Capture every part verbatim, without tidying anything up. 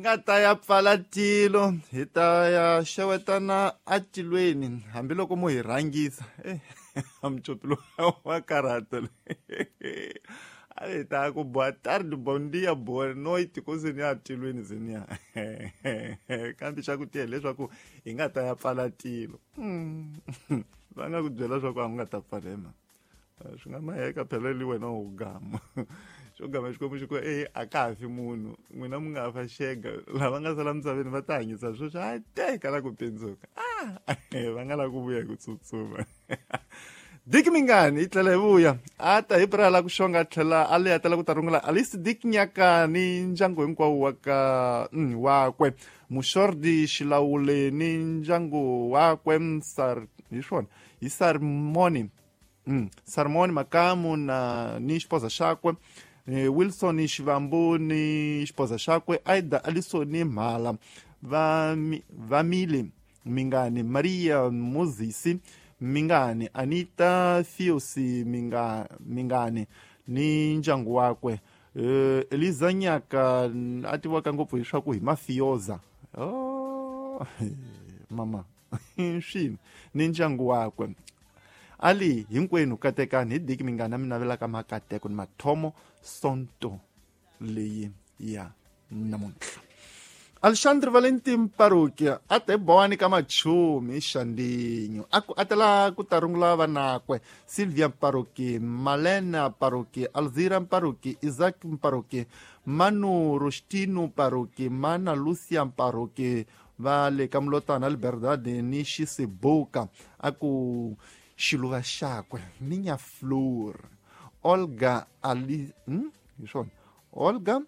Nga ta ya pfala tilo hi ta ya xewetana atilweni hambiloko mo hi rhangisa amcopi wa karhata a hi ta ku boa tarde, bom dia, boa noite ku se ni atilweni zeniya kambe xa ku tiya leswaku hi nga ta ya pfala tilo va nga ku byela leswaku a nga ta pfala hi mhaka swi nga maheka phela li wena u gama xo gama xikwembu xi ku e a ka ha fi munhu n'wina mi nga fa xega lava nga sala misaveni va ta hanyisa sweswi a teka la ku pindzuka a va nga la ku vuya hi ku tsutsuma. Dick Mingani yi tlhela hi vuya a ta hi pira la ku xonga tlhela a leya tala ku ta rungula Alice Dick Nyaka ni ndyangu hinkwawo wa ka wakwe Muxordi Xilawule ni ndyangu wakwe Sar hi swona hi Sarmoni Mm. Sarmoni Makamu na ni xipoza xakwe Wilson Xivambu ni xipoza xakwe Aida Alisoni Mhala va Vamile Mingani Maria Mozisi Mingani Anita Fiosi Minga Mingani ni ndyangu wakwe Eliza Nyaka a tiviwaka ngopfu hi swa ku hi mafioza oh mama swini ni ndyangu wakwe ali hinkwenu katekani hi Dick Mingani mi navelaka makateko ni mathomo sonto leyi ya namuntlha. Alexandre Valentin Parokia a te bowani ka machumi xandinyo a ku atela ku ta rungula vanakwe Silvia Paroki, Malena Paroki, Alzira Paroki, Isaac Paroki, Manu Rostino Paroki, Mana Lucia Paroki va le ka Mulotana Liberdade ni Xisibuka a ku xiluva xakwe Minha Flor Olga Ali hmm? Hi swona Olga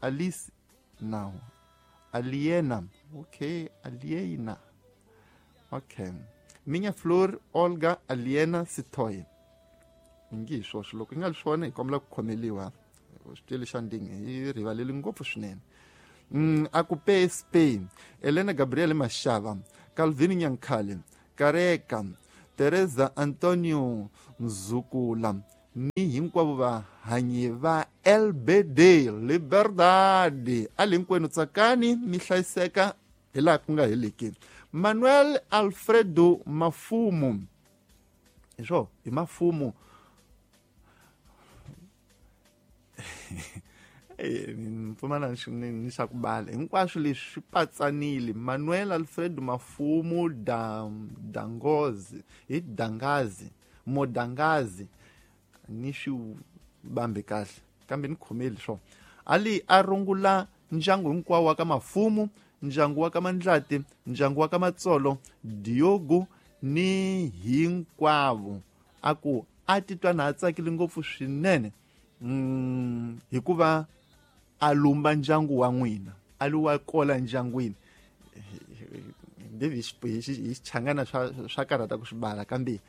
Alice now Aliena okay Aliena okay Minha Flor Olga Aliena Sitoy ngi swosho loko nga swona hi kombela ku khomeliwa xitele xa ndingi hi rivaleli ngopfu swinene mm, a ku P S P Elena Gabriel Mashava Calvin Nyankhale Kareka Teresa Antonio Nzukula ni hinkwavo vahanyi va L B D Liberdade ali hinkwenu tsakani mi hlayiseka hi laha ku nga heliki. Manuel Alfredo Mafumo hi swo hi Mafumo pfumala ni xa ku bala hinkwaswo leswi swi patsanile. Manuel Alfredo Mafumo da Dangozi hi Dangazi Modangazi ni swi bambe kahle kambe ni khomeli swo ali a rungula ndyangu hinkwawo wa ka Mafumo, ndyangu wa ka Mandlati, ndyangu wa ka Matsolo, Diogo ni hinkwavo a ku a titwa na a tsakile ngopfu swinene mm, hikuva a lumba ndyangu wa n'wina a li wa kola ndyangwini hi xichangana swa swa karhata ku swi bala kambe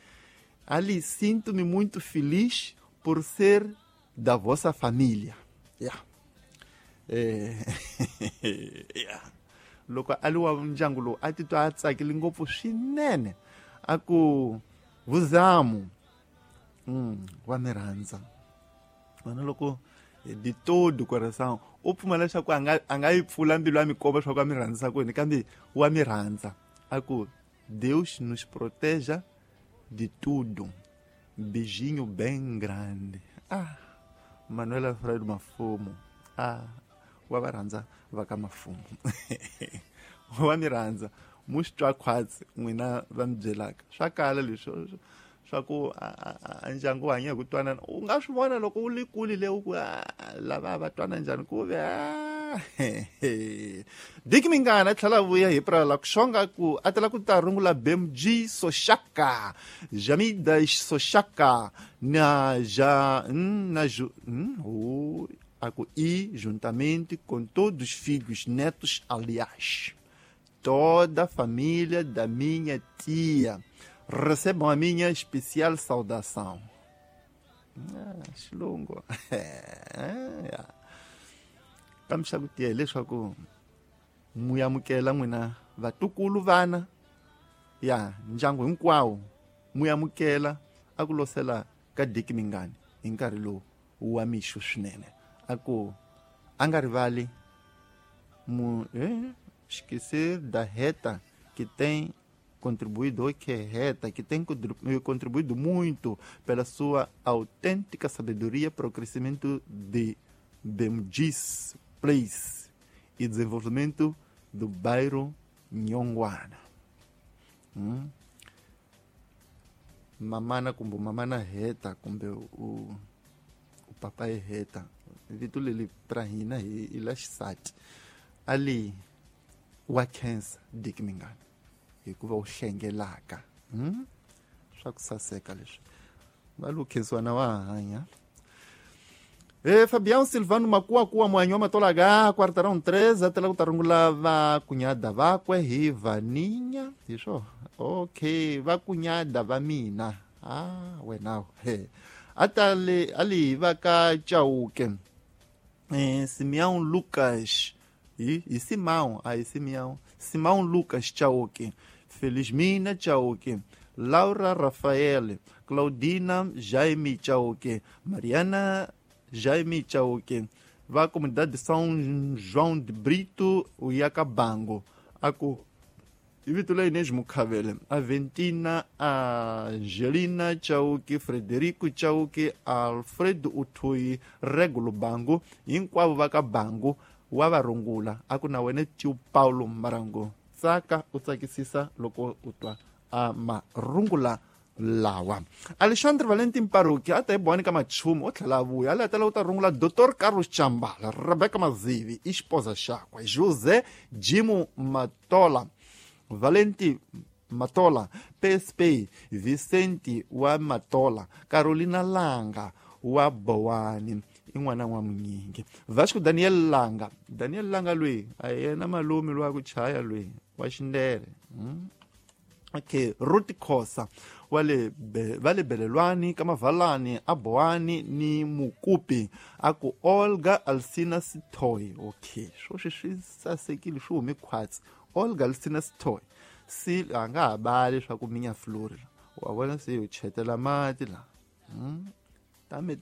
ali sinto-me muito feliz por ser da vossa família. Yeah. Eh, yeah. Loko a li wa ndyangu lowu a titwa a tsakile ngopfu swinene a ku vuzamu mm, wa mi rhandza vana loko de todo coração u pfumela leswaku a nga a nga yi pfula mbilu ya mikomba leswaku a mi rhandzisa kwini kambe wa mi rhandza a ku Deus nos proteja de tudo. Beijinho bem grande. Ah, Manuel Alfredo Mafumo. Ah, wa va rhandza va ka Mafumo. Wa mi rhandza mu swi twa khwatsi n'wina va mi byelaka swa kala leswi swa ku a ndyangu wu hanya hi ku twanana u nga swi vona loko u li kule le u ku lava va twana njhani ku ve Dick Mingani a tlhela vuya hi pira la ku xonga ku a tela ku ta rungula B M G Soshaka Jamida Soshaka na ja na ju o a ku e juntamente com todos os filhos netos aliás toda a família da minha tia recebam a minha especial saudação. Ah, xilungu kambe xa ku tiya hileswaku mu amukela n'wina vatukulu vana ya ndyangu hinkwawo mu amukela a ku losela ka Dick Mingani hi nkarhi lowu wa mixo swinene a ku a nga rivali Mu, eh, esquecer da reta que tem contribuído, que é reta, que tem contribuído muito pela sua autêntica sabedoria para o crescimento de Bemgis Place e desenvolvimento do bairro Nhonguana. Hum? Mamana kumbe mamana reta kumbe o, o papai reta vito leli pra hina hi la xisati ali wa khensa Dick Mingana hikuva u hlengelaka hmm? Swa ku saseka leswi va lo khensiwa na wa hanya. E Fabião Silvano Makuakuwa mwanyi wa matolaga quartarão três até lá ku ta rungula va kunyada vakwe hi vaninya hi swo okay va kunyada va mina ah wena he atale ali va ka Chauke eh Simeão Lucas e e Simão aí Simeão Simão Lucas Chauke, Felizmina Chauke, Laura Rafael, Claudina Jaime Chauke, Mariana Jaime Chauke, va comunidade de São João de Brito, o Iacabango, aku Ivitula Inês Mukavele, Aventina Angelina Chauke, Frederico Chauke, Alfredo Utui, Regulo Bango, hinkwavo va ka Bango wa va rungula aku na wena Tio Paulo Marango tsaka u tsakisisa loko u twa a marungula lawa. Alexandre Valentin Paruki a ta hi bowani ka machumu o tlhela a vuya a tala u ta rungula Doctor Carlos Chambala, Rebecca Mazivi i xipoza xakwe, José Jimo Matola, Valenti Matola, P S P Vicente wa Matola, Carolina Langa wa Bowani i n'wana wa Munyingi, Vasco Daniel Langa, Daniel Langa loyi a yena malume loyi a ku chaya loyi wa xindele hmm? Okay, Ruth Khosa wa le va le Belelwani ka Mavalani a Bowani ni Mukupi aku Olga Alcina Sitoy. Okay, swo swi sasekile swi hume khwatsi. Olga Alcina Sitoy si a nga ha bali swa ku minya flori wa vona se yo chetela mati la hmm? Tame